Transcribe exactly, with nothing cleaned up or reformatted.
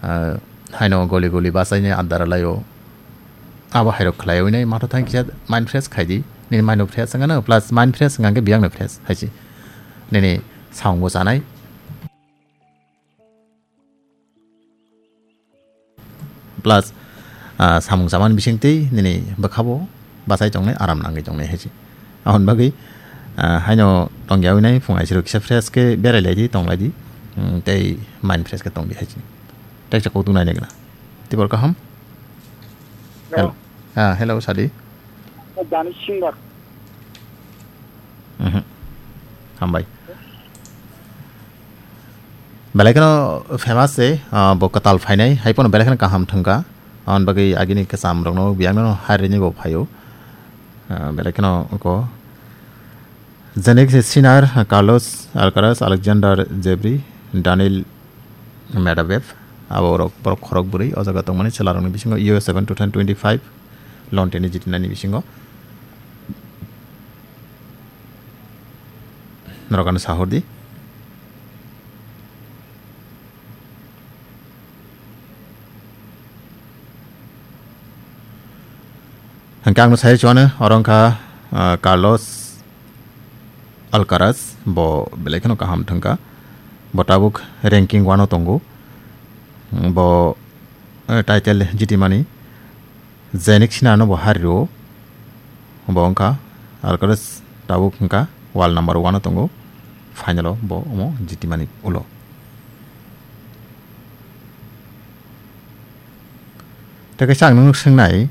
Ah, haino goli goli basaini andara laio. Abo hairok khlaiwi nai matho thang kisa mind fresh khaidi. Nini mind no fresh wngano plus mind fresh wngkha khe biyang no fresh haisi. Nini samung bo chanai. Plus, ah, samung chamani bisingtwi nini bwkhabo bachai tongnai, aram nangwi tongnai haisi. Aboni bagwi, ah, haino tongyawi nai phung aisiro kisa fresh khe berai laidi, tong laidi, mm, tei mind fresh khe tongdi haisi. Tei chakok tung nai nai gana. Tibor kaham? Hello. Hello. Ah, hello, Sadi. Dani Singer. Mhm. Hambai. Belai kheno famous se, ah, bo kwtal phainai, hai phano belai kheno kaham thwngkha. Aboni bagwi agini kwcham rokno biyang no harini bo phaio. Ah, belai kheno ko Janik Sinner, Carlos Alcaraz, Alexander Zverev, Daniil Medvedev, abo rok borok khorok bwrwi o jaga tongmani chwla rokni bisingo U S Open two thousand twenty-five London ni jitinani bisingo. Norok ano sahordi. Hwnkhe ang no sai chuano, oro wngkha, ah, Carlos Alcaraz, bo belai kheno kaham thwngkha. Bo tabuk ranking one o tongo. Bo, eh, title jitimani Janik Sinner no bo hario. Bo wngkha Alcaraz tabuk wngkha world number one o tongo. Final o bo omo jitimani ulo. Tei kaisa ang nung swngnai,